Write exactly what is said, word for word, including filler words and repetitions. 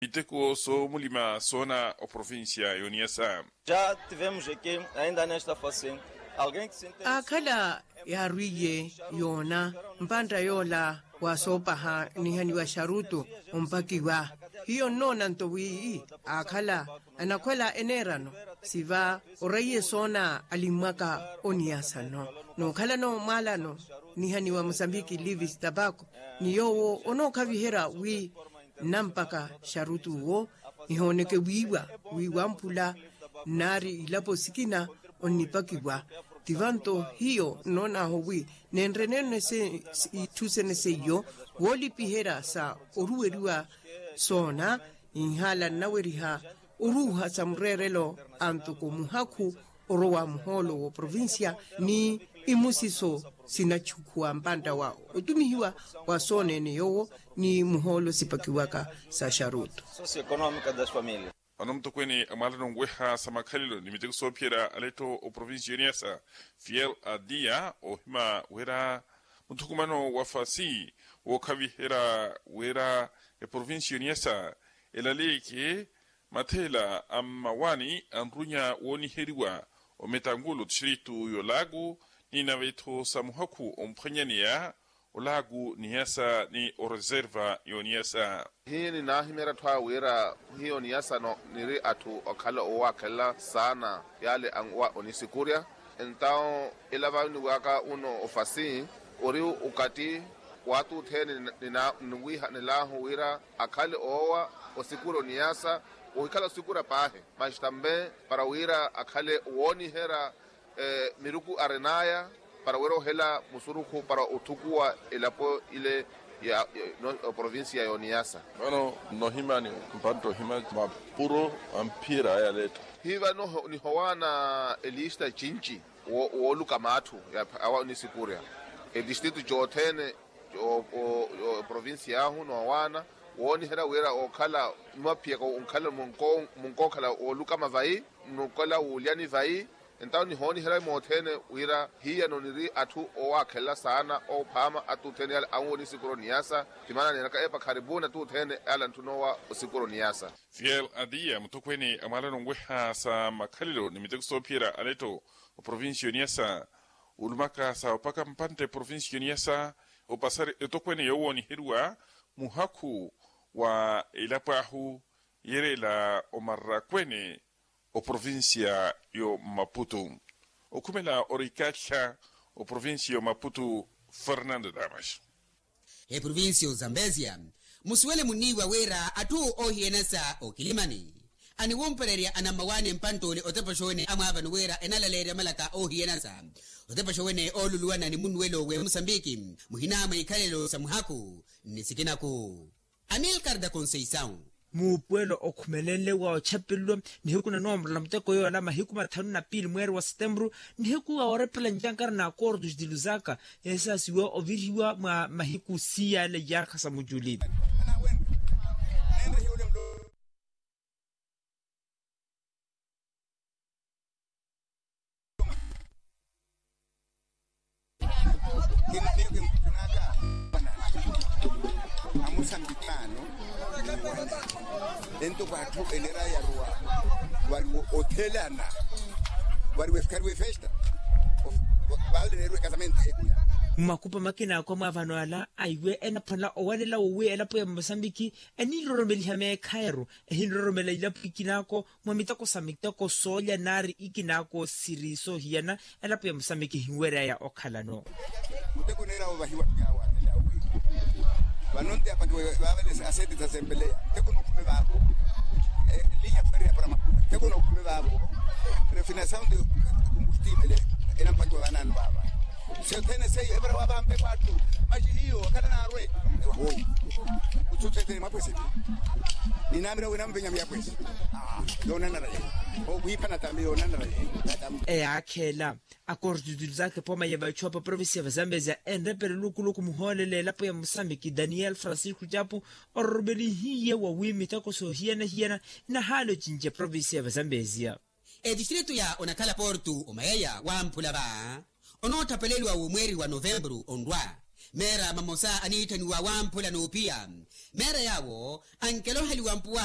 miteko soomulima soona oprovincia y'oniyasa. Ja tivemos eki ainda nesta fase alguém ki sinteni aakhala yaarwiye yoona mpantta yoola wa soopaha nihaniwa xarutu ompakiwa. Hiyo nnoona nto wi aakhala anakhwela eneerano siva oraiye soona alimmwaka oniyasa nno nookhalano mwaalano nihaniwa mosambiki livis tabako ni yoowo onookhaviherya wi nnampaka xarutu owo nihooneke wiiwa wi wamphula nnaari ilapo sikina onnipakiwa. Tivanto hiyo nnoon'ahu wi nenreneene itthu sene seiyo woolipiherya sa oruweriwa soona inhaala nnaweriha oruuha sa mureerelo antoko muhakhu orowa muhoolo w'oprovincia ni imusiso sinachukhuwa mpantta wa otumihiwa wa soona-ene yoowo ni muhoolo sipakiwaka sa xarutu. Vano mutokweene a mwaalano onweha sa makhalelo ni miteko soophiyerya aletto oprovincia y'oniyasa fiel adia oohima wira muthukumano wa fasi wookhaviherya wira eprovincia y'oniyasa elaleyeke matheela a mmawaani a nrunya wooniheriwa ometangulo tixiritu y'olaaku ni nave-tho sa muhakhu omphwanyaneya olaaku niyasa ni oreserva y'oniyasa. Hiyo ninaahimeerya atthu awe wira hiyo niyasa niri atthu okhala owaakhelela saana yaale anwa onisikurya. Entawo ila vaaniwaka uno ofasi ori ukati w'atutthene niwiihanel'ahu wira akhale oowa osikurya oniyasa ohikhala osikurya paahi masi tambe para wira akhale wooniherya miruku arin'aya para wira ohela musurukhu para othukuwa elapo ile ya provincia y'oniyasa. Vano nnohimani mpantta ohima mapuro amphiyerya aya leetta. Hiva nihowaana elista cinci wooluka matthu awa onisikurya etistritu cothene oprovincia ahu noowaana wooniherya wira ookhala mwaphiyaka onkhala munkookhala woolukama vayi nukhala wuulyani vayi. Entawo nihooniherya mothene wira hiyano niri atthu owaakhelela saana oophaama attuthene yaale anwowa onisikuro niyasa. Timaana neenaka epa kharipuni attuthene yaale antthunoowa osikuro niyasa. Fiel adiya muthokweene a mwaalano onweha sa makhalelo ni miteko soophiyerya aletto oprovincia y'oniyasa olumaka sa opaka mpantte provincia y'oniyasa opasari etokweene yoowooniheriwa muhakhu wa elapo ahu yereela omarakweene oprovincia y'omaputu okhumela orikattha oprovincia y'omaputu fernando damas. Eprovincia y'ozambesia musuwele munniiwa wira atthu oohiyanasa okilimani aniwumpererya anammawaani mpantt'ole otepaxa wene amwaavani wira enalaleerya malaka oohiyanasa otepaxa wene ooluluwana ni munnuwelo w'emusambiki muhinaamwa ikhalelo sa muhakhu nni sikinaku. Amilcar da conceição. Muupuwelo okhumelenle wa ochapelelwa nihiku na noomorola muteko yoola mahiku mathanu na piili mweeri wa setemburu nihiku wa orepela ncankara na akortu xitilusaka esaasiwa ovirihiwa mwa mahiku siyaale yarkha sa muculi. Amusambiki ano ento kwatthu enera yaruwa wari othelana wari wefikari wefesta. Vale neru ekasamento eku. Mmakupa makina akwa mwaavano ala aiwe enaphwanela owalela wowi elapo ya musambiki eniroromeliha meekhayaru ehinroromela ilapo ikinako mwa miteko sa miteko soolya nari ikinaako siri soohiyana. Elapo ya musamiki ehinweryaya okhalano. Muteko neera ovahiwa yawaatela wi vano nti apakiwe vavele aseti zasembeleya muteko nokhume vavo. Linya fwere ya parama muteko nokhume vavo. Refinasaunde kumbustiivele enampakiwa vananu vava. Sio thene seiyo evara wavampe kwattu. Maxihiyo akhala naarwe. Ewahoyi. Kutsutsethene mwapweseni. Ninamira wina mpenyami yapwesi. Yoonanara yeyo. Okhwiphana tambi yoonanara yeyo. Eyaakheela akortutulu zake pooma ya vachuwa pa provincia va zambezia enrepele lukuluku muhoolele elapo ya musambiki daniel francisco chapu ororomelihiye wa wi miteko soohiyana-hiyana inahaala ocinca provincia va zambezia. Etistritu ya onakhala portu omayeya wamphula va onoothapeleliwa womweeri wa novemburu onrwa. Meera mamosa aniitthaniwa wamphula n'upiya. Meera yaawo ankeloheliwa mpuwa.